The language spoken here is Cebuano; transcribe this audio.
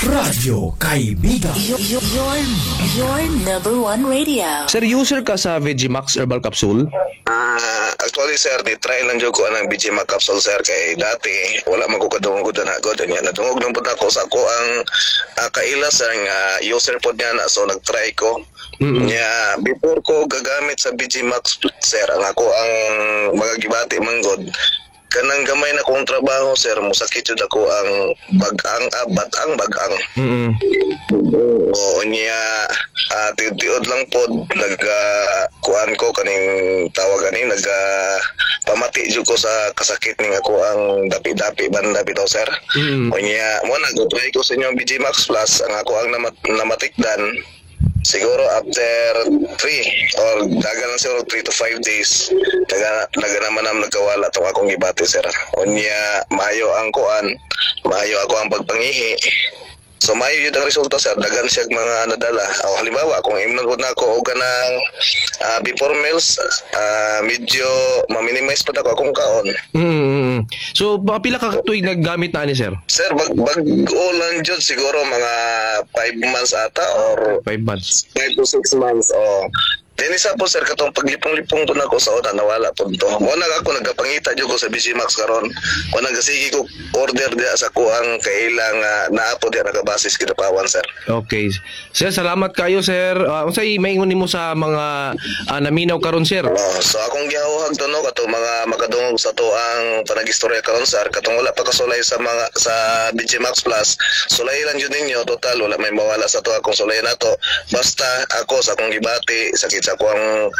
Radyo Kaibigan. Your number one radio. Sir, user ka sa Vegimax Herbal Capsule? Ah, actually, sir, ni try lang jud ko anang BG Mac capsule, sir, kay dati wala man ko kadungog na ako niya. Nadungog lang pud ako sa ako ang kaila, sir, nga user pod niya na, so nagtry ko. Nya before ko gagamit sa BG Max, sir, ang ako ang mga gibati manggod kanang gamay na kong trabaho, sir, musakit jud ako ang bagang, batang bagang. Oo niya, tiod lang pod nag kuan ko kaning tawag ani nag pamati jud ko sa kasakit ning ako ang dapi-dapi banda bitaw, sir. Unya mo na try ko sa inyong BG Max Plus, ang ako ang namatikdan siguro after 3 or dagan lang siguro 3 to 5 days, daga naman ang nagkawala tong akong gibati, sir. Unya maayo ang kuan, maayo ako ang pagpangihi. So maayo yun ang resulta, sir, daghan siya mga nadala. O halimbawa, kung imnon po na ako og kanang before meals, medyo ma-minimize pa ako akong kaon. So, mga pila ka tuig naggamit na ani, sir? Sir, bag-o lang jud, siguro mga 5 months ata or 5 months. 5 to 6 months. Oh. Then isa po, sir, katong paglipong-lipong po na ako sa una, nawala po to. Wala ako nagkapangita jud ko sa BC Max karon. Wala nagasige ko order diya sa kuang kailang naa po diya nakabasis Kidapawan, sir. Okay. Sir, salamat kayo, sir. Unsay maingon nimo sa mga naminaw karon, sir? Oh, so akong gihahuhag to, no, katong mga makadungog sa to ang panagistorya karon, sir, katong wala pa kasulay sa mga sa BG Max Plus, sulay lang jud ninyo. Total wala may mawala sa to akong sulay nato. Basta ako sa akong gibati sakit sa akong